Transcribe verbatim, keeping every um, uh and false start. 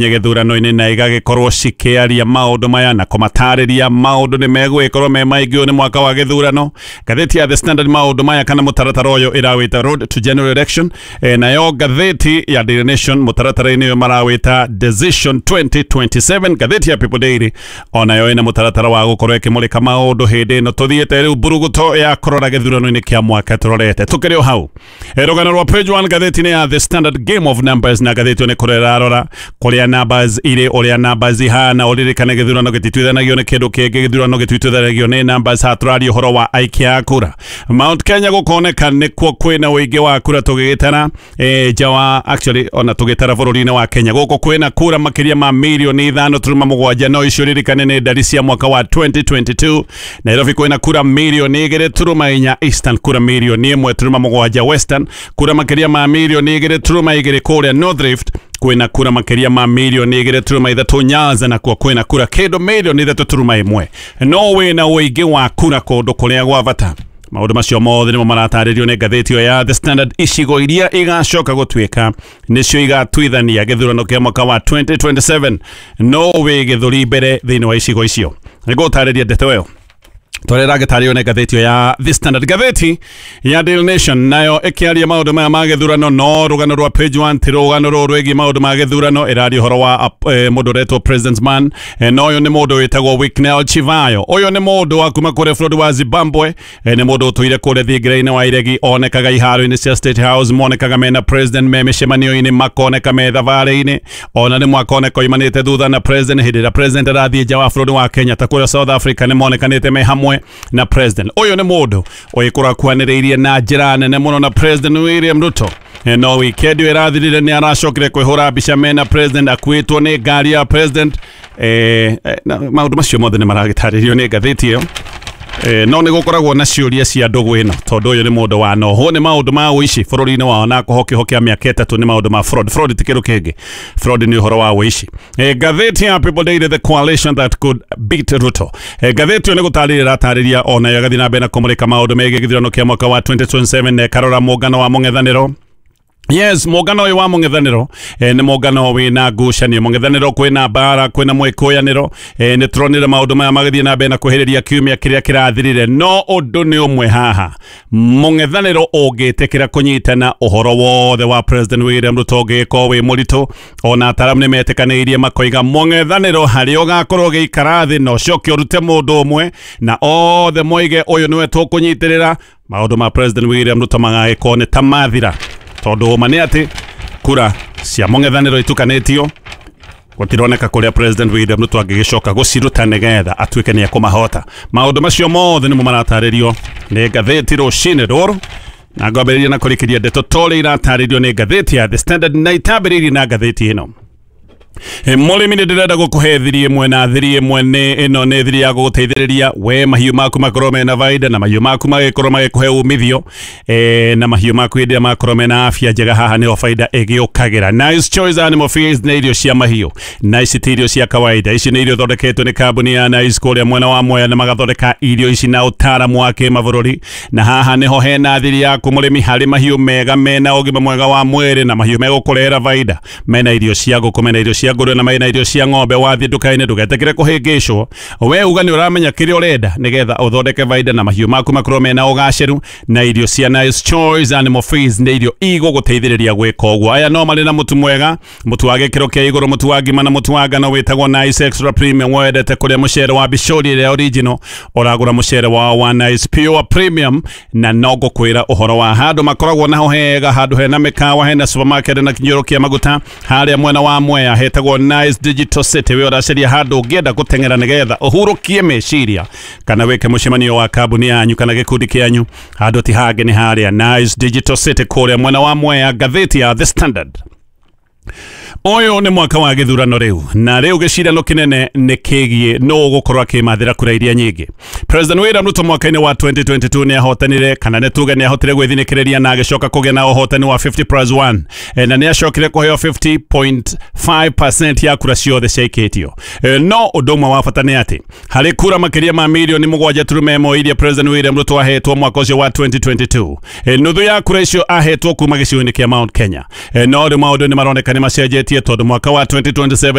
Gĩthurano-inĩ na igagĩkorwo cikĩaria maũndũ maya na kũmatarĩria maũndũ nĩ megũgĩkorwo me maingĩ. Ũyũ nĩ mwaka wa gĩthurano. Ngathĩti ya The Standard maũndũ maya kana mũtaratara ũyũ ĩrawĩta Road to General Election. e, nayo ngathĩti ya Daily Nation mũtaratara-inĩ ũyũ marawĩta Decision twenty twenty-seven. Ngathĩti ya People Daily onayo ĩna mũtaratara wa gũkorwo ĩkĩmũrĩka maũndũ hĩndĩ ĩno tũthiĩte rĩu mburuguto ya kũrora gĩthurano-inĩ kĩa mwaka tũrorete. Tũkĩrĩ o hau, e, rũgano rwa page one ngathĩti-inĩ ya The Standard, Game of Numbers, na ngathĩti ĩyo nĩ kũrĩa ĩrarora kũrĩa numbers irĩ, ũrĩa numbers ihana. Ũririkane gĩthurano gĩtituithanagio nĩ kĩndũ kĩngĩ, gĩthurano gĩtuithanagio nĩ numbers. Haha tũraria ũhoro wa aikia a kura. Mount Kenya gũkoneka nĩkuo kwĩna ũingĩ wa kura tũgĩgĩtara e, nja wa, actually ona tũgĩtara bũrũri-inĩ wa Kenya, gũkũ kwĩna kura makĩria ma mirioni ithano turuma mũgwanja, no icio ririkane nĩ ndari cia mwaka wa twenty twenty-two. Nairobi kwĩna kura mirioni igĩrĩ turuma inya, Eastern kura mirioni ĩmwe turuma mũgwanja, Western kura makĩria ma mirioni igĩrĩ turuma igĩrĩ, kũrĩa North Rift kwĩna kura makĩria ma mirioni igĩrĩ turuma ithatũ, Nyanza nakuo kwĩna kura kĩndũ mirioni ithatũ turuma ĩmwe. No wĩna ũingĩ wa kura kũndũ kũrĩa gwa bata. Maũndũ macio mothe nĩmo maratarĩrio nĩ ngathĩti ĩyo ya The Standard. Icigo iria igacoka gũtuĩka nĩcio igatuithania gĩthurano kĩa mwaka wa twenty twenty-seven, no wĩ gĩthũri mbere thĩinĩ wa icigo icio. Nĩngũgũtarĩria ndeto ĩyo twarä ragätarĩo nä ngathĩti ĩyo ya The Standard. Ngathĩti ya Daily Nation nayo ĩkĩaria maũndũ maya ma gĩthurano, no rũgano rwa page one ti rũgano rũrũ rwĩgiĩ maũndũ ma gĩthurano. Ĩraria ũhoro wa eh, mũndũ ũretwo President's Man. eh, no ũyũ nĩ mũndũ wĩtagwo Wicknell Chivayo. Ũyũ nĩ mũndũ wa kuma kũrĩa bũrũri wa Zimbabwe. eh, nĩ mũndũ ũtũire kũrĩa thingira-inĩ wa iregi, onekaga iharo-inĩ cia State House, monekaga mena president me mĩcemanio-inĩ, makoneka me thabarĩ-inĩ, ona nĩ mwakoneka oimanĩte thutha na president hĩndĩ ĩrĩa president arathiĩ nja wa bũrũri wa Kenya, ta kũrĩa South Africa nĩ monekanĩte me hamwe na president. Ũyũ nĩ mũndũ ũgĩkorwo akuhanĩrĩirie na njĩra nene mũno na President William Ruto. Eh, no weekend ĩyo ĩrathirire nĩ aracokire kwĩhũra mbica mena president akuĩtwo nĩ ngari ya president. eh, eh, na maũndũ macio mothe nĩ maragĩtarĩrio nĩ ngathĩti ĩyo. Eh, no nĩ gũkoragwo na ciũria cia ndũgũ ĩno, tondũ ũyũ nĩ mũndũ wa nohwo nĩ maũndũ ma ũici bũrũri-inĩ wao na kũhokĩhokia mĩaka ĩtatũ nĩ maũndũ ma fraud. Fraud ti kĩndũ kĩngĩ, fraud nĩ ũhoro wa ũici. eh, ngathĩti ya People Daily, The Coalition That Could Beat Ruto. eh, ngathĩti ĩyo nĩ gũtarĩria ĩratarĩria, onayo ĩgathiĩ na mbere na kũmũrĩka maũndũ megiĩ gĩthurano kĩa mwaka wa twenty twenty-seven na ĩkarora mũngano wa mũng'ethanĩro. Yes, mũngano ũyũ wa mũng'ethanĩro eh, nĩ mũngano wĩna ngucanio. Mũng'ethanĩro kwĩna mbara, kwĩna mwĩkũyanĩro. eh, nĩ tũronire maũndũ maya magĩthiĩ na mbere na kwĩhĩrĩria kiumia kĩrĩa kĩrathirire, no ũndũ nĩ ũmwe haha: mũng'ethanĩro ũngĩtĩkĩra kũnyitana, ũhoro wothe wa President William Ruto ũngĩgĩkorwo wĩ mũritũ. Ona ataramu nĩ metĩkanĩirie makoiga mũng'ethanĩro harĩa ũgakorwo ũgĩikara thĩ na ũcoke ũrute mũndũ ũmwe na othe moige ũyũ nĩwe tũkũnyitĩrĩra, maũndũ ma President William Ruto magagĩkorwo nĩ ta mathira, tondũ ũma nĩ atĩ kura cia mũng'ethanĩro itukanĩtio, gũtironeka kũrĩa President William Ruto angĩgĩcoka gũciruta nĩgetha atuĩke nĩ ekũmahota. Maũndũ macio mothe nĩmo maratarĩrio nĩ ngathĩti rũcinĩ rũrũ, na ngwambĩrĩria na kũrĩkĩria ndeto torĩa iratarĩrio nĩ ngathĩti ya The Standard, na itambĩrĩirie na ngathĩti ĩno. E, mũrĩmi, nĩ ndĩrenda gũkũhe thiri ĩmwe, na thiri ĩmwe nĩ ĩno, nĩ thiri ya gũgũteithĩrĩria we mahiũ maku makorwo mena baida, na mahiũ maku magĩkorwo magĩkũhe umithio, e, na mahiũ maku hĩndĩ ĩrĩa makorwo mena afya njega, haha nĩho baida ĩgĩũkagĩra. Nice Choice Animal Feeds nĩ irio cia mahiũ, na ici ti irio cia kawaida. Ici nĩ irio thondeketwo nĩ kambuni ya Nice kũrĩa mwena wa Mwea, na magathondeka irio ici na ũtaaramu wa kĩmabũrũri. Na haha nĩho hena thiri yaku mũrĩmi harĩ mahiũ mega mena ũgima mwega wa mwĩrĩ na mahiũ megũkũrehera baida. Mena irio cia ngũkũ, mena irio cia ngũrwe, na mena irio cia ng'ombe. Wathiĩ nduka-inĩ ndũgetĩkĩre kũhĩngĩcwo, we uga nĩ ũramenya kĩrĩa ũrenda nĩgetha ũthondeke baida na mahiũ maku makorwo mena ũgacĩru. Na irio cia Nice Choice Animal Feeds nĩ irio igũgũteithĩrĩria gwĩka ũguo. Aya no marĩ na mũtu mwega, mũtu wa gĩkĩro kĩa igũrũ, mũtu wa ngima na mũtu wa ngano wĩtagwo Nice Extra Premium. Wendete kũrĩa mũcere wa bicori ĩrĩa original, ũragũra mũcere wao wa Nice Pure Premium. Na no ngũkwĩra ũhoro wa handũ makoragwo naho hega, handũ hena mĩkawa, hena supermarket na kinyũrũ kĩa maguta harĩa mwena wa Mwea, hetagwo Nice Digital City. We ũracaria handũ ũngĩenda gũteng'era nĩgetha ũhurũkie meciria kana wĩke mũcemanio wa kambuni yanyu kana gĩkundi kĩanyu, handũ ti hangĩ nĩ harĩa Nice Digital City kũrĩa mwena wa Mwea. Ngathĩti ya The Standard, ũyũ nĩ mwaka wa gĩthurano rĩu, na rĩu gĩcirano kĩnene nĩ kĩgiĩ nũ ũgũkorwo akĩmathĩra kura iria nyingĩ. President William Ruto mwaka-inĩ wa twenty twenty-two nĩ ahotanire, kana nĩ tuge nĩ ahotire gwĩthinĩkĩrĩria na agĩcoka kũgĩa na ũhotani wa fifty plus one, e, na nĩ acokire kũheo fifty point five percent ya kura ciothe ciaikĩtio. e, no ũndũ ũmwe wa bata nĩ atĩ harĩ kura makĩria ma mirioni mũgwanja turuma ĩmwe iria President William Ruto ahetwo mwaka ũcio wa twenty twenty-two, e, nuthu ya kura icio ahetwo kuma gĩcigo-inĩ kĩa Mount Kenya. e, no rĩu maũndũ nĩ maroneka nĩ macenjetie. Wĩyũmbanĩtie tondũ mwaka wa twenty twenty-seven.